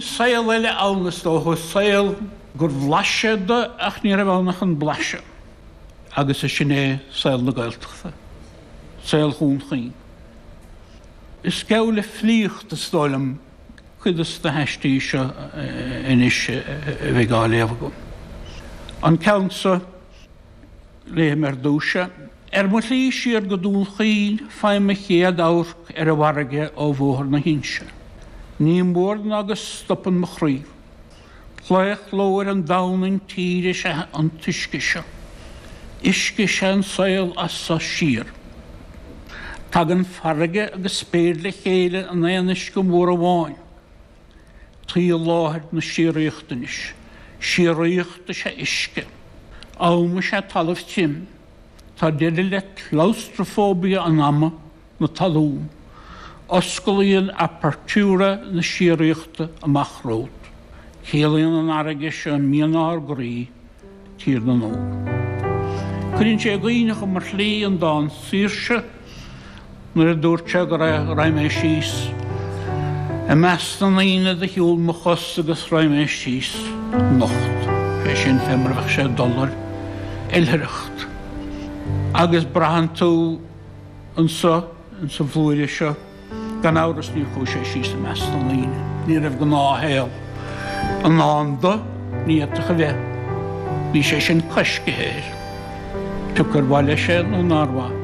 Bhí saol eile ann, is dócha, saol gur bhlais sé de ach ní raibh ann ach an blaiseadh. Agus is sin é saol na Gaeltachta, saol Dhún Chaoin. Is geall le filíocht, is dóigh liom, cuid de na haistí seo anois a bheidh á léamh agam. An ceann seo, léifidh mé ar dtús é. Ar mo shlí siar go Dún Chaoin faighim mo chéad amharc ar an bhfarraige ó Bhóthar na hInse. Ní mór ná go stopann mo chroí. Claochló ar an domhan intíre is ea an t-uisce seo. Uisce is ea an saol as so siar. Tagann farraige agus spéir le chéile in aon uisce mór amháin. Taoi i láthair na síoraíochta anois. Síoraíocht is ea uisce. Am is ea talamh tirim. Tá deireadh le claustrafóibia an ama. na talún. Osclaíonn apertura na síoraíochta amach romhat. Ciallaíonn an fharraige seo mian ár gcroí, Tír na nÓg. Cuireann sé i gcuimhne dhom ar shlí an dán Saoirse nuair a dúirt sé go raghaidh mé síos i measc na ndaoine de shiúl mo chos agus raghaidh mé síos anocht. Sé sin fé mar a bheadh sé ag dul ar oilithreacht. Agus braitheann tú Anso, insa bhlúire seo, gan amhras níor chuaigh sé síos i measc na ndaoine. Ní raibh gnáthshaol i ndán do, ní fhéadfadh a bheith. Bhí sé sin coiscithe air, pioca ar mhaith leis é nó nár mhaith.